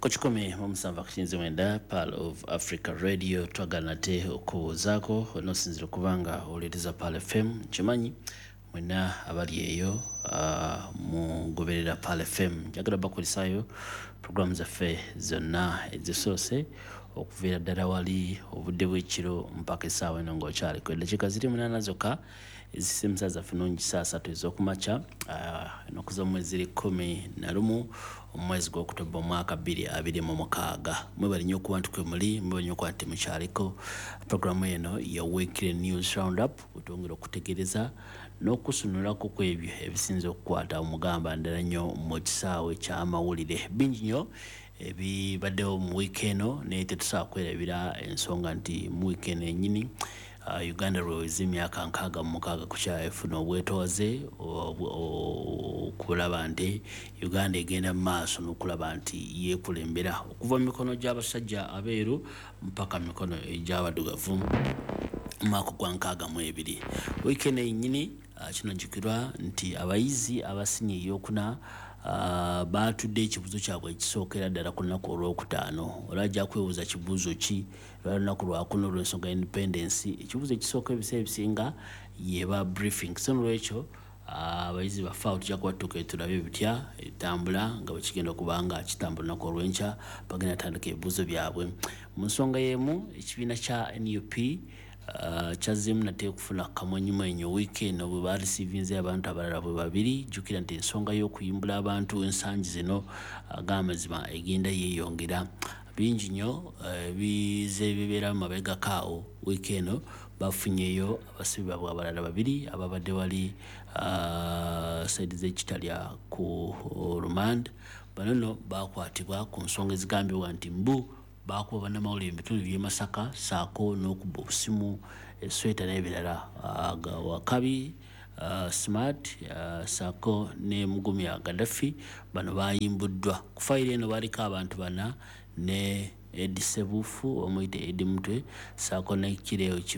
Ku 107.9 Pearl of Africa Radio, twagala nate okubuuzaako onoosinzira okuba nga owuliriza Pearl FM. Nkimanyi mwenna abali eyo mugoberera Pearl FM. Njagala bakulisaayo programu zaffe zonna ezisoose okuviira ddala wali obudde bw'ekiro mpaka essaawa eno ng'okyaliko eddakiika ziri 8 zokka ezisimusa zaffe nungi saa 3 ez'okumakya, ennaku z'omwezi ziri 11 omwezi gw'Okutoba omwaka 2026. Mwebale nnyo okuba nti kwe muli, mwebale nnyo okuba nti mukyaliko. Programu eno ya Weekly News Roundup, wetwongera okutegereza n'okusunulako ku ebyo ebisinze okukwata omugamba ndala nnyo mu kisaawe ky'amawulire. Bingi nnyo ebibaddewo mu wiiki eno, naye tetusobola kwerabira ensonga nti mu wiiki eno ennyini Uganda lweweza emyaka 66 ku kyafuna obwetoowaze, okulaba nti Uganda egenda mu maaso n'okulaba nti yeekulembera okuva mu mikono gy'abasajja abeeru mpaka mu mikono egy'abaddugavu mu mwaka gwa 62. Wiiki eno yennyini kinajjukirwa nti abayizi abasinye eyokuna baatudde ekibuuzo kyabwe ekisookera ddala ku lunaku olwokutaano. Olwajja ajja kwebuuza kibuuzo ki? Lwali lunaku lwakuna olw'ensonga ya independence. Ekibuuzo ekisooka ebiseera ebisinga yeba briefing, so nolwekyo abayizi baffe awo tujja kuba tutuuka tulabe bitya etambula nga bwe kigenda okuba nga kitambula. Olunaku olw'enkya bagenda tandika ebibuuzo byabwe. Mu nsonga y'emu, ekibiina kya NUP kyazzeemu nate okufuna kamwenyumwenyu wiiki eno bwe barisiivinze abantu abalala bwe babiri. Jjukira nti ensonga y'okuyimbula abantu ensangi zino ag'amazima egenda yeeyongera. Bingi nnyo bize bibeera mu mabegako awo. Wiiki eno bafunyeyo abasibe baabwe abalala babiri ababadde wali side z'ekitalya ku remand. Bano nno bakwatibwa ku nsonga ezigambibwa nti mbu bakuba bannamawulire mu bitundu by'e Masaka, ssaako n'okubba obusimu, esweta n'ebirala. Wakabi Smart ssaako ne Mugumya Gaddafi, bano bayimbuddwa. Ku fayiro eno baliko abantu bana ne Edi Sebuufu, omuyite Edi Mutwe, ssaako ne Kireo.